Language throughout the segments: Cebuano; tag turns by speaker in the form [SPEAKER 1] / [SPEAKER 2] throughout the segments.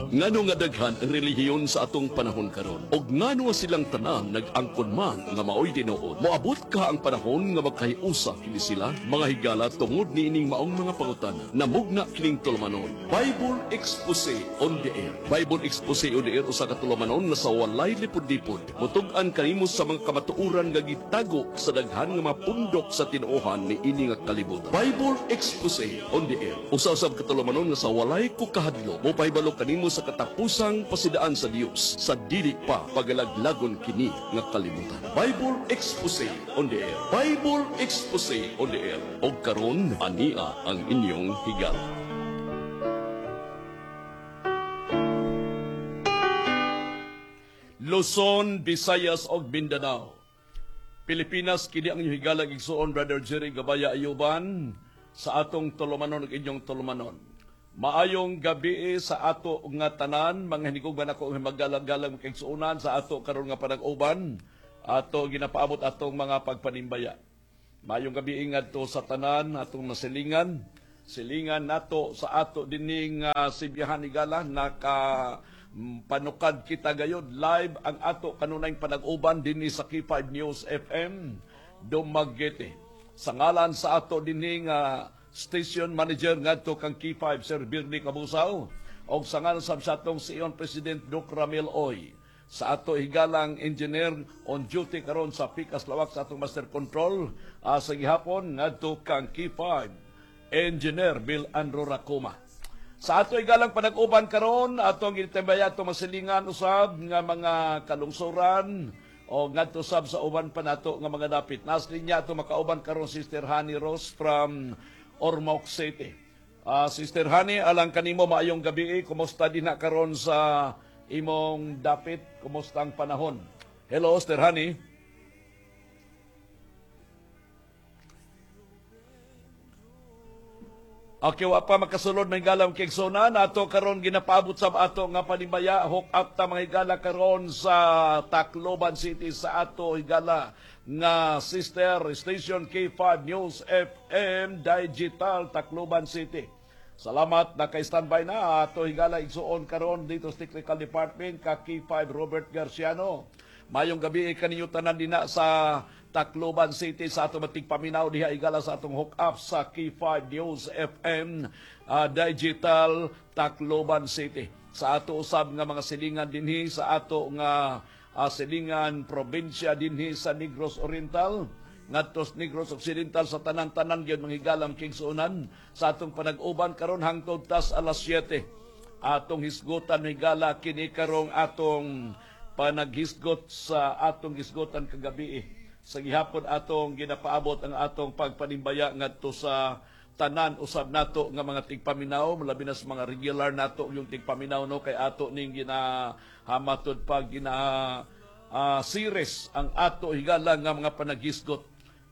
[SPEAKER 1] Ngano nga daghan ang relihiyon sa atong panahon karon? Og ngano nga silang tanan nag-angkon man nga maoy tinuod? Moabot kaha ang panahon nga magkahiusa kini sila, mga higala, tungod niining maong mga pangutana? Namugna kining tulumanon, Bible Expose on the Air. Bible Expose on the Air, usa ka tulumanon nga sa walay lipod-lipod mutug-an kanimo sa mga kamatuoran nga gitago sa daghan nga mga pundok sa tinuohan niini nga kalibutan. Bible Expose on the Air, usa usab ka tulumanon nga sa walay ko kahadlok mopahibalo kanimo sa katapusang pasidaan sa Dios sa dili pa pagalaglagon kini nga kalibutan. Bible Expose on the Air. Bible Expose on the Air. Og karon, ania ang inyong higala. Luzon, Visayas ug Mindanao. Pilipinas, kini ang inyong higala igsuon, Brother Jerry Gabaya Ayuban, sa atong tulumanon ug inyong tulumanon. Maayong gabi sa ato nga tanan, mga hinigugma nako nga magalang-galang kaigsuonan. Sa ato karon nga panag-uban, ato ginapaabot atong mga pagpanimbaya. Maayong gabi ngadto sa tanan atong nasilingan. Silingan nato sa ato dining Sibihan higala, naka panukad kita gayod live ang ato kanunayng panag-uban dinhi sa K5 News FM Dumaguete. Sa ngalan sa ato dinhi nga station manager ngadto kang K5, Sir Birnie Kabusaw, og sa ngalan sab sa atong CEO President Doc Ramil Oy, sa ato higalang engineer on duty karon sa Pikas Lawak, sa atong master control sa gihapon ngadto kang K5 Engineer Bill Andrew Racoma. Sa ato higalang panag-uban karon, atong gitembaya atong masilingan usab nga mga kalungsuran o ngadto sab sa uban pa nato nga mga dapit. Nas linya ato makauban karon Sister Honey Rose from Ormoc City. Sister Honey, alang kanimo, maayong gabi. Kumusta din na karon sa imong dapit? Kumusta ang panahon? Hello, Sister Honey. Okay, wa pa makasulod may galang kigsunan. Ato karon ginapaabot sa ato nga panimbaya. Hook up ta mga higala karon sa Tacloban City sa ato higala nga sister station K5 News FM Digital Tacloban City. Salamat, naka-standby na ato higala igsuon karon dito sa Technical Department ka K5 Robert Garciano. Mayong gabi kaninyo tanan dina sa Tacloban City sa atong matigpaminaw diha igala sa atong hook up sa K5 News FM Digital Tacloban City. Sa ato usab nga mga silingan dinhi sa ato nga silingan probinsya dinhi sa Negros Oriental, ngadto sa Negros Occidental, sa tanan-tanan gyud mga higalang kigsuonan sa atong panag-uban karon hangtod tas alas 7. Atong hisgutan higala kini karong atong panaghisgot sa atong hisgutan kagabi. Sa gihapon atong ginapaabot ang atong pagpanimbaya ngadto sa tanan usab nato nga mga tigpaminaw, labi na sa mga regular nato yung tigpaminaw, no, kay ato ning ginahamatod pag gina series ang ato higala nga mga panaghisgot.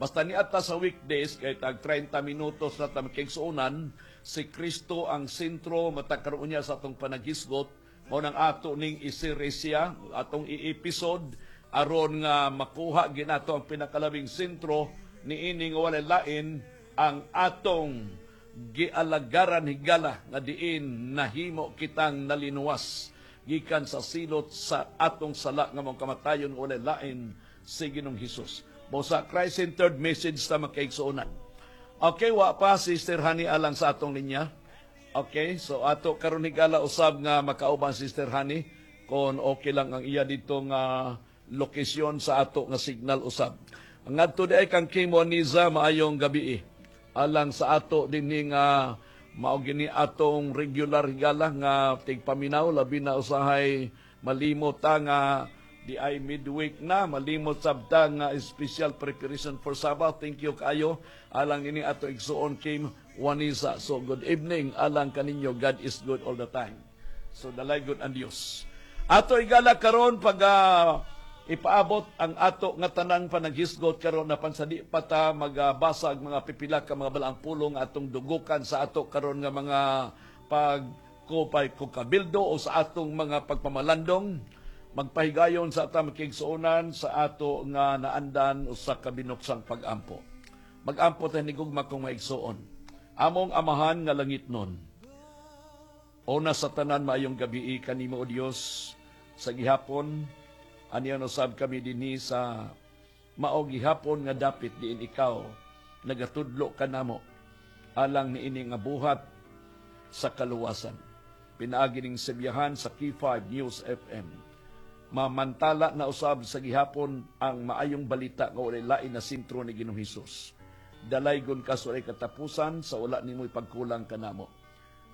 [SPEAKER 1] Basta ni ata sa weekdays kay tag 30 minutos na ta makigsuonan, si Kristo ang sentro matag karon niya sa atong panaghisgot. Mao nang ato ning i-series siya, atong i-episode aron nga makuha ginato ang pinakalabing sentro niini nga walay lain ang atong gialagaran higala nga diin nahimo kitang nalinuwas gikan sa silot sa atong sala nga mong kamatayon, walay lain si Ginoong Hesus. Mo sa Christ-centered message sa makaigsuonan. Okay, wa pa Sister Honey alang sa atong linya. Okay, so ato karon higala usab nga makauban Sister Honey kon okay lang ang iya dito nga lokasyon sa ato nga signal usab. Ang ngadto di ay kang Kim Waniza, maayong gabi. Alang sa ato dinhi nga mao gini atong regular higala nga tigpaminaw, labi na usahay malimot ta nga di ay midweek na, malimot sabta nga special preparation for Sabbath. Thank you kaayo alang ini ato igsuon Kim Wanisa. So good evening alang kaninyo. God is good all the time. So dalay good ang Dios. Ato igala karon pag ipaabot ang ato nga tanang panaghisgot karon na pansadi pa ta magabasa og mga pipila ka mga balaang pulong atong dugukan sa ato karon nga mga pagkupay kukabildo o sa atong mga pagpamalandong. Magpahigayon sa ata makigsuonan sa ato nga naandan usa ka binuksang pag-ampo. Mag-ampo ta ni gugma kong maigsuon. Among Amahan nga langit nun. Una sa tanan, maayong gabi kanimo, O Dios, sa gihapon. Aniya usab kami dinhi sa mao gihapon nga dapit diin ikaw nagatudlo kanamo alang niini nga buhat sa kaluwasan. Pinaagi ning sibiyahan sa K5 News FM. Mamantala na usab sa gihapon ang maayong balita nga walay lain na sentro ni Ginoong Hesus. Dalaygon ka sa walay katapusan sa wala nimo ipagkulang kanamo.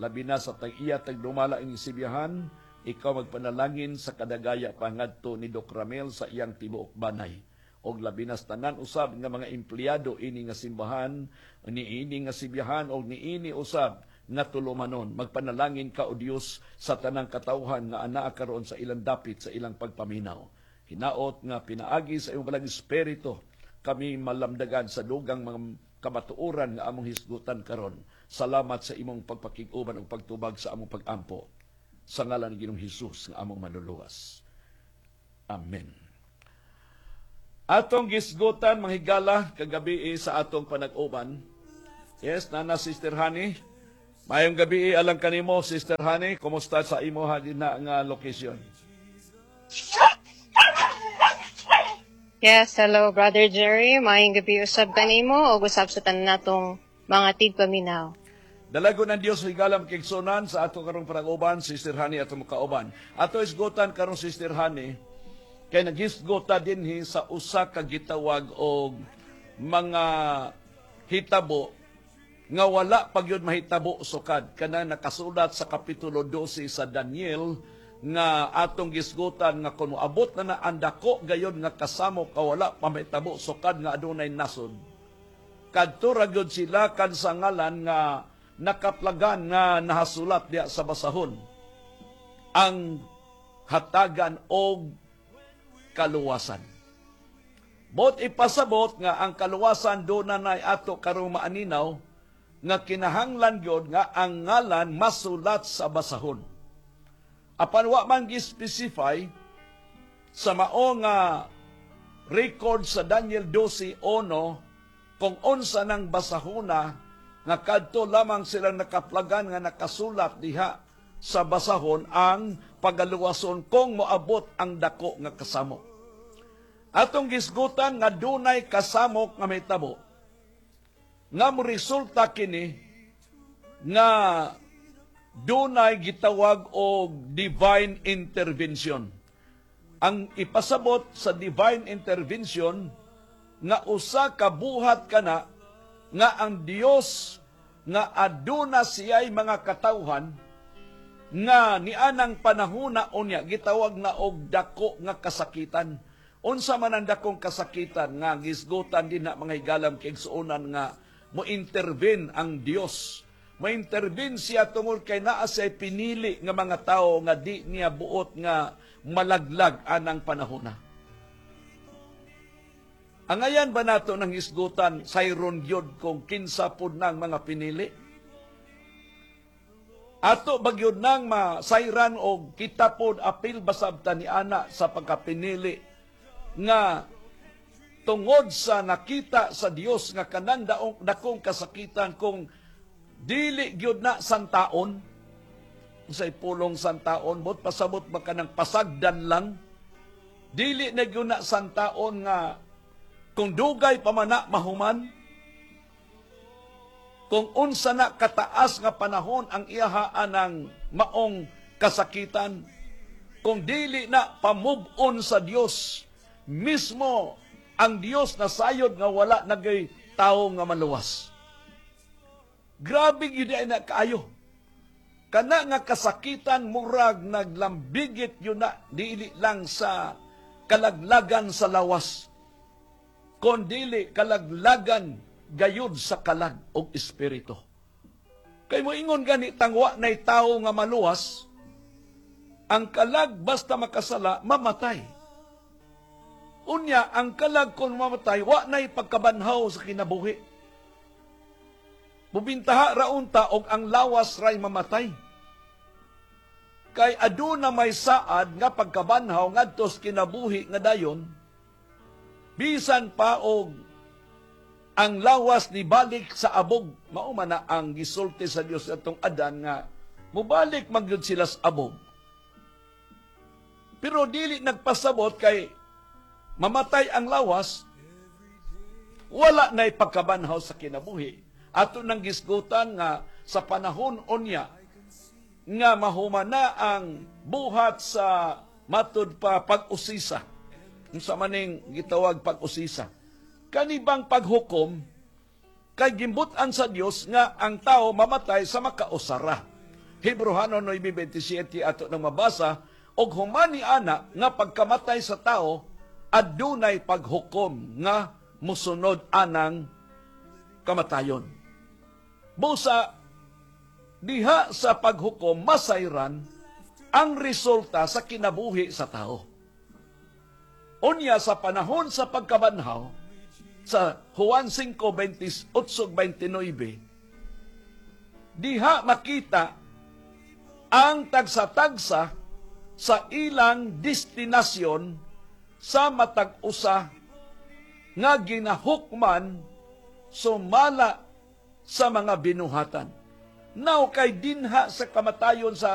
[SPEAKER 1] Labi na sa tag-iya tagdumala ining sibiyahan, ikaw magpanalangin sa kadagaya pa ngadto ni Doc Ramel sa iyang tibuok banay. Og labi na sa tanan usab nga mga empleyado ini nga simbahan, niini nga sibiyahan og niini usab nga tulumanon. Magpanalangin ka, O Dios, sa tanang katawhan nga anaa karon sa ilang dapit sa ilang pagpaminaw. Hinaot nga pinaagi sa imong Balang Espiritu kami malamdagan sa dugang mga kamatuoran nga among hisgutan karon. Salamat sa imong pagpakig-uban ug pagtubag sa among pagampo. Sa ngalan ni Ginoong Hesus nga among Manluluwas. Amen. Atong gisgutan, mga higala, kagabi sa atong panag-uban. Yes, nana Sister Honey. Maayong gabi alang kanimo, Sister Honey. Kumusta sa imo na nga location?
[SPEAKER 2] Yes, hello, Brother Jerry. Maayong gabi usab kanimo ug usab sa tanan natong mga tigpaminaw.
[SPEAKER 1] Dalago ng Dios, higala, makigsunan sa ato karong panag-uban, Sister Honey, ato makauban. Ato isgutan karong, Sister Honey, kay naghisgota dinhi sa usa ka gitawag og mga hitabo nga wala pa gyud mahitabo sukad, kana nakasulat sa kapitulo 12 sa Daniel nga atong gisgutan nga kung moabot na na ang dako gayon nga kasamok ka wala pa mahitabo sukad nga adunay nasod, kadto ra gyud sila kan sa ngalan nga nakaplagan nga nahasulat diya sa basahon ang hatagan og kaluwasan. Bot ipasabot nga ang kaluwasan do na nay ato karong maaninaw nga kinahanglan gyud nga ang ngalan masulat sa basahon. Apan wa man gi-specify sa mao nga record sa Daniel 12:1 kung unsa nang basahona nga kadto lamang silang nakaplagan nga nakasulat diha sa basahon ang pagaluwason kung moabot ang dako nga kasamok. Atong gisgutan nga dunay kasamok nga mahitabo nga mo resulta kini nga dunay gitawag og divine intervention. Ang ipasabot sa divine intervention nga usa ka buhat kana nga ang Dios nga aduna siya'y mga katawhan nga nianang panahona unya gitawag na og dako nga kasakitan. Unsa man ang dakong kasakitan nga gisgutan din na, mga higalam kaigsuonan, nga mo intervene ang Dios? Mo-intervene siya tungod kay naa siya pinili nga mga tawo nga di niya buot nga malaglag anang panahona. Angayan ba nato ng hisgutan sayron gyud kung kinsa pud nang mga pinili? Ato ba gyud nang masayran og kita pod apil basabta ni ana sa pagkapinili nga tungod sa nakita sa Dios nga kanang daong dakong kasakitan kung dili gyud na santaon? Unsay pulong santaon? Bot pasabot ba kanang pasagdan lang? Dili na gyud na santaon nga kung dugay pa man na mahuman, kung unsa na kataas nga panahon ang iyahaan ng maong kasakitan, kung dili na pamove-on sa Dios mismo, ang Dios na sayod nga wala nagay tawo nga maluwas. Grabe gyud ay na kaayo. Kana nga kasakitan murag naglambigit yun na dili lang sa kalaglagan sa lawas, kondili kalaglagan gayud sa kalag og espiritu. Kay moingon gani tangwa nay tawo nga maluwas, ang kalag basta makasala mamatay. Unya ang kalag kung mamatay, wa nay pagkabanhaw sa kinabuhi. Bubintaha ra unta og ang lawas ray mamatay. Kay aduna may saad nga pagkabanhaw ngadto sa kinabuhi nga dayon, bisan pa og ang lawas ni balik sa abog, mao man na ang gisulti sa Dios atong Adan nga Mubalik man gyud sila sa abog. Pero dili nagpasabot kay mamatay ang lawas, wala na'y pagkabanhaw sa kinabuhi. Ato nang gisgutan nga sa panahon unya nga mahuman na ang buhat sa matud pa pag-usisa. Unsa maning gitawag pag-usisa? Kanibang paghukom kay gimbut-an sa Dios nga ang tao mamatay sa makausara. Hebreohanon 9:27 ato nang mabasa, og human ni ana nga pagkamatay sa tao, adunay paghukom nga musunod anang kamatayon. Busa diha sa paghukom masayran ang resulta sa kinabuhi sa tao. Unya sa panahon sa pagkabanhaw, sa Juan 5:28-29, diha makita ang tagsa-tagsa sa ilang destinasyon sa matag usa nga ginahukman sumala sa mga binuhatan. Now kay dinha sa kamatayon sa